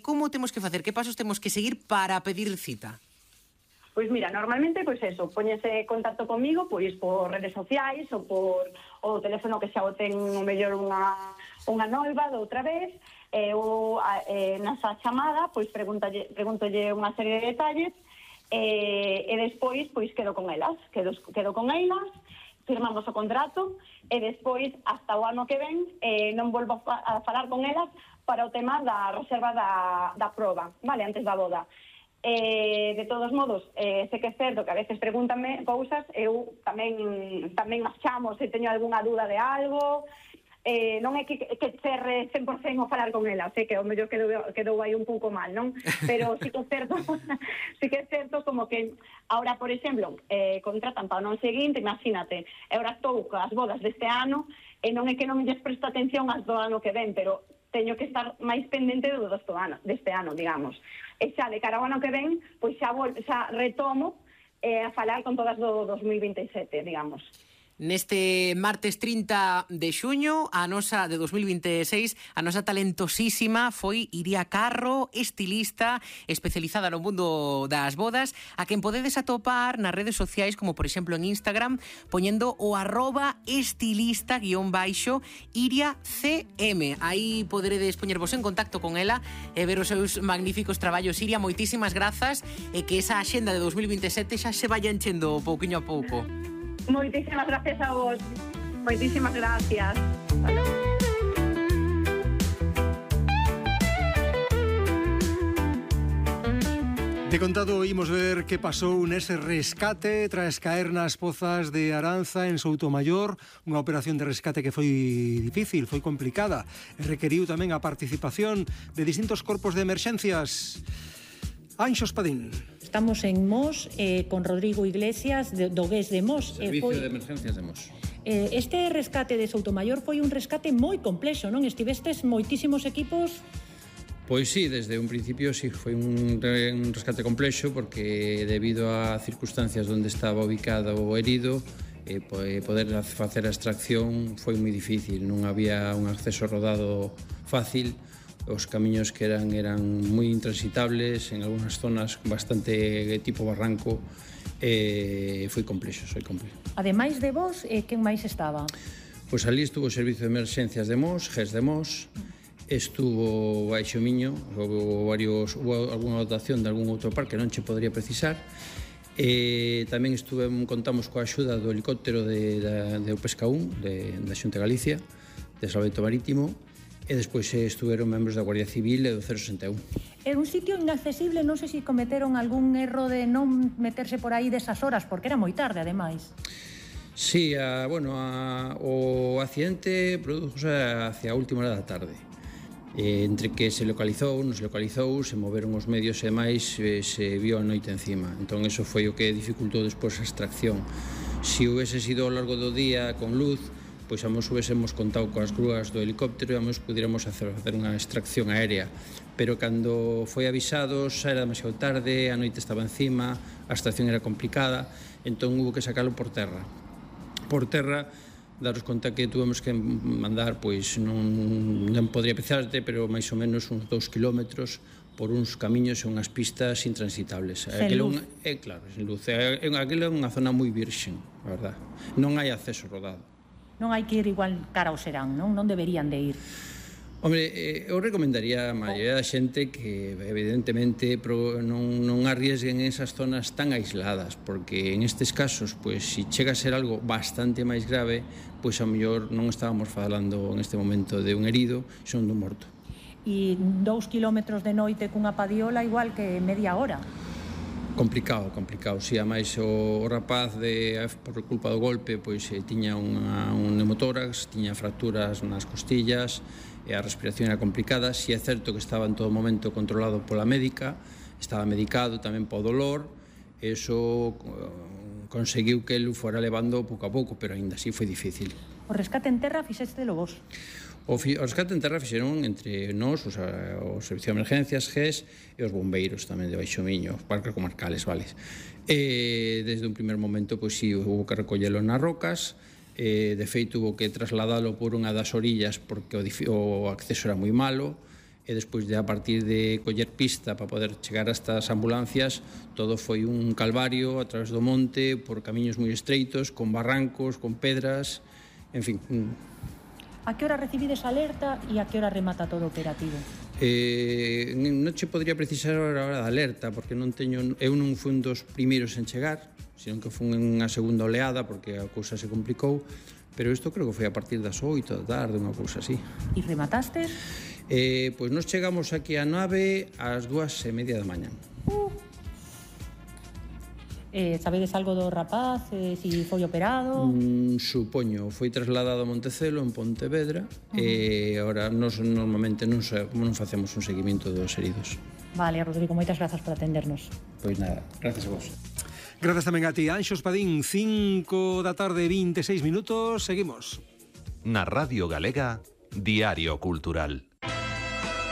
como temos que facer? Que pasos temos que seguir para pedir cita? Pois mira, normalmente, pois eso, póñese contacto comigo, pois por redes sociais ou por o teléfono que xa o ten o mellor unha noiva de outra vez, ou nasa chamada, pois pregúntolle unha serie de detalles, e despois, pois quedo con elas, firmamos o contrato, e despois, hasta o ano que ven, non volvo a falar con elas para o tema da reserva da proba, vale, antes da boda. De todos modos, sei que é certo que a veces pregúntame cousas, eu tamén as chamo se teño algunha dúda de algo, non é que cerre 100% o falar con ela, sei que o mellor quedou aí un pouco mal, non? Pero sí que é certo como que ahora, por exemplo, contratan para o ano seguinte, imagínate, agora estou coas bodas deste ano e non é que non lles presto atención ás do ano que ven, pero teño que estar máis pendente deste ano, digamos. E xa de cara ao ano que ven, pois xa retomo a falar con todas do 2027, digamos. Neste martes 30 de xuño, a nosa de 2026, a nosa talentosísima foi Iria Carro, estilista especializada no mundo das bodas, a quen podedes atopar nas redes sociais, como por exemplo en Instagram, poñendo o @estilista_IriaCM. Aí poderedes poñervos en contacto con ela e ver os seus magníficos traballos. Iria, moitísimas grazas, e que esa axenda de 2027 xa se vaya enchendo pouquiño a pouco. Moitísimas gracias a vos. Moitísimas gracias. De contado, imos ver que pasou nese rescate tras caer nas pozas de Aranza en Soutomaior, unha operación de rescate que foi difícil, foi complicada, e requeriu tamén a participación de distintos corpos de emerxencias. Anxo Espadín. Estamos en Mos con Rodrigo Iglesias do GES de Mos. Servicio de Emergencias de Mos. Este rescate de Soutomaior foi un rescate moi complexo, non? Estivestes moitísimos equipos. Pois sí, desde un principio sí, foi un rescate complexo porque debido a circunstancias onde estaba ubicado o herido, poder facer a extracción foi moi difícil, non había un acceso rodado fácil. Os camiños que eran moi intransitables, en algunhas zonas bastante tipo barranco, foi complexo. Ademais de vos, quen máis estaba? Pois ali estuvo o Servicio de Emerxencias de Mos, GES de Mos, estuvo Baixo Miño, houve algunha dotación de algún outro par que non che podría precisar, tamén contamos coa axuda do helicóptero de Pesca 1, da Xunta de Galicia, de Salvamento Marítimo, e despois estuveron membros da Guardia Civil e do 061. É un sitio inaccesible, non sei se cometeron algún erro de non meterse por aí desas horas, porque era moi tarde, ademais. Sí, o accidente produzouse hacia a última hora da tarde. Entre que se localizou, non se localizou, se moveron os medios e máis, se viu a noite encima. Entón, eso foi o que dificultou despois a extracción. Se houvese sido ao largo do día con luz, pois amos hubiésemos contado coas grúas do helicóptero e amos pudiéramos facer unha extracción aérea, pero cando foi avisado xa era demasiado tarde, a noite estaba encima, a extracción era complicada, entón hubo que sacarlo por terra. Por terra, daros conta que tuvemos que mandar, pois non podría pensarte, pero máis ou menos uns 2 kilómetros por uns camiños e unhas pistas intransitables. Sen luz. Claro, sen luz. Aquilo é unha zona moi virxen, a verdad. Non hai acceso rodado. Non hai que ir igual cara ao serán, non? Non deberían de ir. Hombre, eu recomendaría a maioría da xente que evidentemente non arriesguen esas zonas tan aisladas, porque en estes casos, pois, se chega a ser algo bastante máis grave, pois a mellor non estábamos falando en este momento de un herido, son dun morto. E 2 kilómetros de noite cunha padiola igual que media hora. Complicado. Si, ademais o rapaz por culpa do golpe pois tiña un pneumotórax, tiña fracturas nas costillas e a respiración era complicada. Si é certo que estaba en todo momento controlado pola médica, estaba medicado tamén po dolor, eso conseguiu que el fora levando pouco a pouco, pero aínda así foi difícil. O rescate en terra fixéstelo vos? O rescate en terra fixeron entre nós, o Servicio de Emergencias, GES, e os bombeiros tamén de Baixo Miño, os parques comarcales, vale. Desde un primer momento, pois sí, hubo que recollelo nas rocas, de feito, hubo que trasladalo por unha das orillas porque o acceso era moi malo, e despois de a partir de coller pista para poder chegar hasta as ambulancias, todo foi un calvario a través do monte, por camiños moi estreitos, con barrancos, con pedras, en fin. A que hora recibides alerta e a que hora remata todo o operativo? Non che podría precisar a hora da alerta, porque eu non fui un dos primeiros en chegar, senón que fui unha segunda oleada, porque a cousa se complicou, pero isto creo que foi a partir das 8 da tarde, unha cousa así. E rematastes? Pois nos chegamos aquí á nave ás 2:30 da mañá. Sabedes algo do rapaz, si foi operado? Supoño, foi trasladado a Montecelo, en Pontevedra, e agora nos normalmente non facemos un seguimento dos heridos. Vale, Rodrigo, moitas grazas por atendernos. Pois nada, gracias a vos. Grazas tamén a ti, Anxo Espadín, 5 da tarde, 26 minutos, seguimos. Na Radio Galega, Diario Cultural.